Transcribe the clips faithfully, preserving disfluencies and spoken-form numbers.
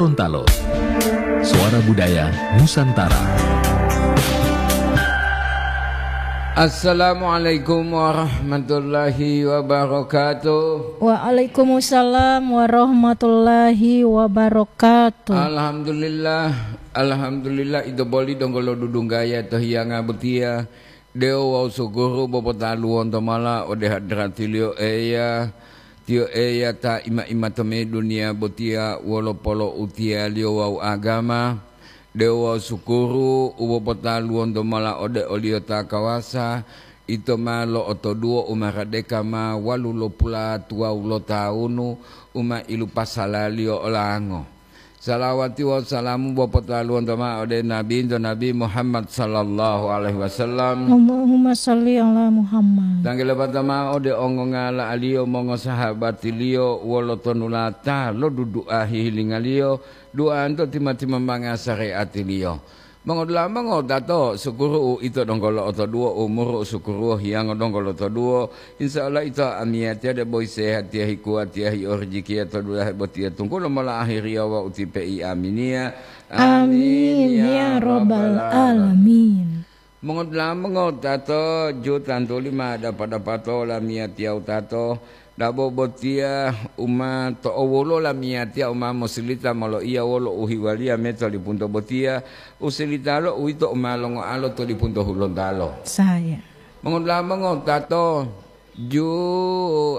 Gorontalo. Suara Budaya Nusantara. Assalamualaikum warahmatullahi wabarakatuh. Waalaikumsalam warahmatullahi wabarakatuh. Alhamdulillah, alhamdulillah, ito boli donggo lo dudunggaya to hiyanga botiya. Dewo wawu sukuru popotaluwonto mala ode hadratiliyo Eya, tiyo Eya ta ima-ima tomimbihu duniya botiya wolo poloutiyaliyo wawu agama. Dewo wawu sukuru u popotaluwonto mala ode oliyo ta kawasa, ito ma lo'otoduwo u maradeka ma walulopulatuwawu lotawunu u ma ilupasalaliyo olango. Salawati wawu salamu popotaluwonto ma'o ode Nabinto Nabi Muhammad sallallahu alaihi wasallam. Allahumma shalli ala Muhammad. Tanggi lepata ma'o ode ongongala aliyo mongosahabatiliyo wolo tonulata lo dudu'a hihilingaliyo, du'anto tima-timambanga sare'atiliyo. Mongodula'a mongowutato, sukuru uito donggo lo'otoduwo, umuru usukuruwo hiyango donggo lotoduwo. Insya Allah ito amiyatiya debo sehatiya hikuwatiya hiyo rijikiya to dulahe botiya tunggulo mola ahiriya wawu ti pe'i aminiya. Amin, ya rabbal alamin. Mongodula'a mongowutato, ju tantuli ma dapa-dapato lamiyatiya wutato. Dabo botiya u ma to'owulo lamiyatiya u ma mosilita moloiya wolo uhiwaliya me to lipunto botiya, usilitalo uwito u ma longoalo to lipunto Hulontalo. Saya. Mongodula'a mongowutato, ju,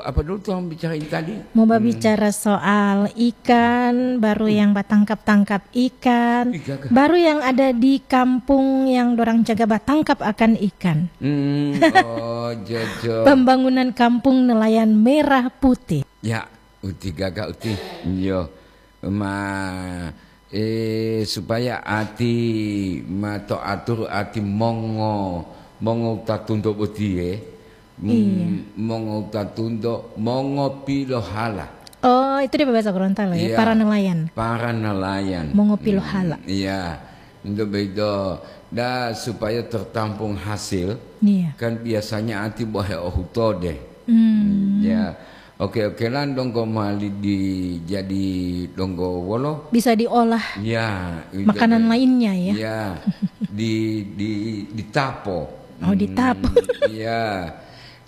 apa dulu tuang bicara ini tadi? Mau berbicara soal ikan, baru yang batangkap-tangkap ikan, Ikan. Baru yang ada di kampung yang dorang jaga batangkap akan ikan. Hmm, oh, jojo. Pembangunan kampung nelayan merah putih. Ya, uti gaga uti. Yo. Ma, eh, supaya ati ma to atur ati mongo, mongo tatunto botiye. Hmm, iya. Mongo tatunto, mongo pilohala. Oh, itu dia bahasa Gorontalo ya, iya, para nelayan. Para nelayan. Mongo pilohala. Hmm, iya. Untuk begitu, dah supaya tertampung hasil, iya, kan biasanya ati bohe ohutode. Hmm. Ya. Oke-okelan donggo mali di jadi donggo wolo. Bisa diolah. Ya, itu makanan deh. Lainnya ya. Ya, di di ditapo. Oh, ditapo. Hmm, iya.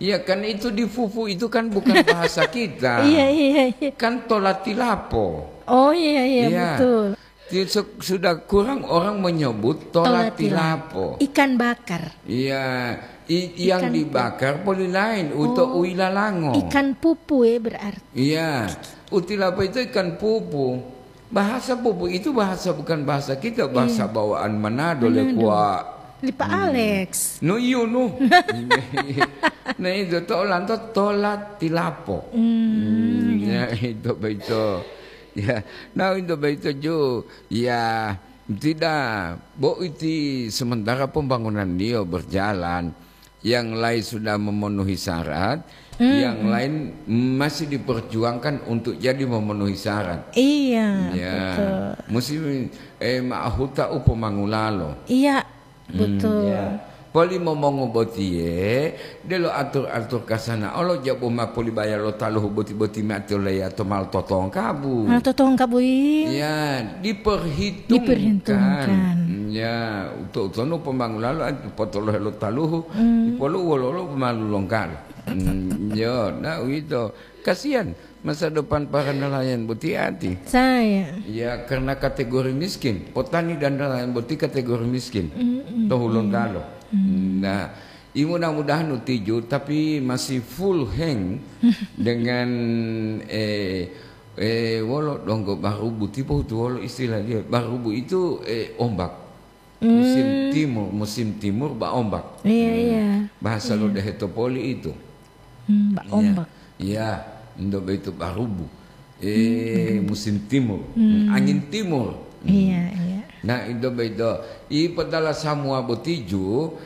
Iya, kan itu dipupu itu kan bukan bahasa kita. Iya, iya, iya. Kan tolatilapo. Oh, iya, iya, iya, betul. Ti-, su-, sudah kurang orang menyebut tolatilapo. Tolatilapo. Ikan bakar. Iya, i-, yang dibakar poli lain, untuk uilalango. Ikan pupu ya berarti. Iya, utilapo itu ikan pupu. Bahasa pupu itu bahasa bukan bahasa kita, bahasa bawaan Manado, Manado. Lekua. Lipa Alex. No iyo no. Nah itu tolanto tolatilapo. Hmm, ya itu begitu. Ya, nah itu begitu ju. Ya, tidak. Bo iti sementara pembangunan dia berjalan, yang lain sudah memenuhi syarat, yang lain masih diperjuangkan untuk jadi memenuhi syarat. Iya, ya, betul. Musim, eh, ma'ahuta upomangulalo. Iya, betul. Ya. Poli momongo botiye, delo atur-atur kasana olo jabu ma polibaya lo taluhu boti-boti mati oleya to mal totongkabu. Mal totongkabu, iya. Ya, diperhitungkan. Diperhitungkan. Ya, uto-utono pomangulalo potolohe lo taluhu, ipolu wololo pomalu longkalo. Hmm, yo, nah uwito. Kasihan masa depan para nelayan boti ati. Saya. Ya, karena kategori miskin. Potani dan nelayan boti kategori miskin. To Hulontalo. Nah, i mudah-mudahan utiju, tapi masih full hang dengan, eh, eh, wolo donggo barubu, tipo itu wolo istilah dia. Barubu itu, eh, ombak. Musim timur, musim timur ba ombak. Iya, iya. Bahasa lo dehe to poli itu. Hmm, ba ombak. Iya, indo begitu barubu. Eh, musim timur. Hmm, angin timur. Iya, iya. Nah, indo begitu. I padala samua botiju,